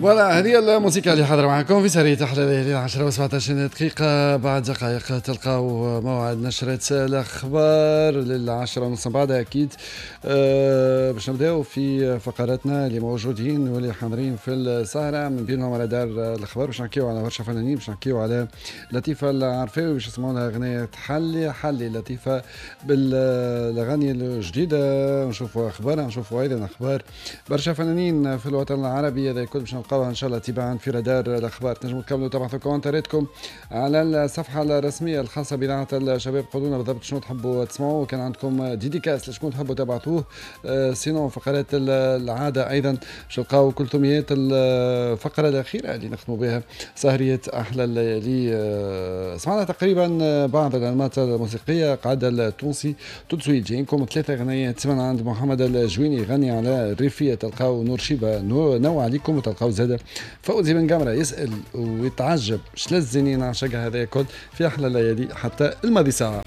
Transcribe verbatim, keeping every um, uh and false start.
voilà، هذه الموسيقى اللي حاضرة معكم في سهرية أحلى ليالي، عشرة وسبعطاش دقيقة. بعد دقائق تلقاو موعد نشرة الأخبار للعشرة ونص. بعدها أكيد آه، باش نبداو في فقراتنا اللي موجودين واللي حاضرين في السهرة، من بينهم على دار الأخبار باش نحكيو على برشا فنانين، باش نحكيو على لطيفة العرفاوي، باش نسمعوا لها أغنية حلي حلي. لطيفة بالأغاني الجديدة، نشوفوا أخبارها، نشوفوا أيضا أخبار برشا فنانين في الوطن العربي. هذا الكل باش نلقاوها ان شاء الله تباعا في رادار الاخبار. تنجموا تكملوا تبعثوا كومنتاراتكم على الصفحة الرسمية الخاصة باذاعة الشباب، قولوا لنا بالضبط شنو تحبوا تسمعوا، كان عندكم dédicace لشكون تحبوا تبعثوه. آه، sinon فقرات العادة ايضا باش تلقاو كل ثميات الفقرة الاخيرة اللي نختموا بها سهريه احلى الليالي. آه، سمعنا تقريبا بعض الانماط الموسيقيه، قعد التونسي tout de suite جايينكم ثلاثة غنيات من عند محمد الجويني يغني على الريفيه، تلقاو نور شيبة نوع عليكم، وتلقاو زاد فوزي بن قمرة يسأل ويتعجب شلزني نعشقها. هذا الكل في أحلى الليالي حتى الماضي ساعة.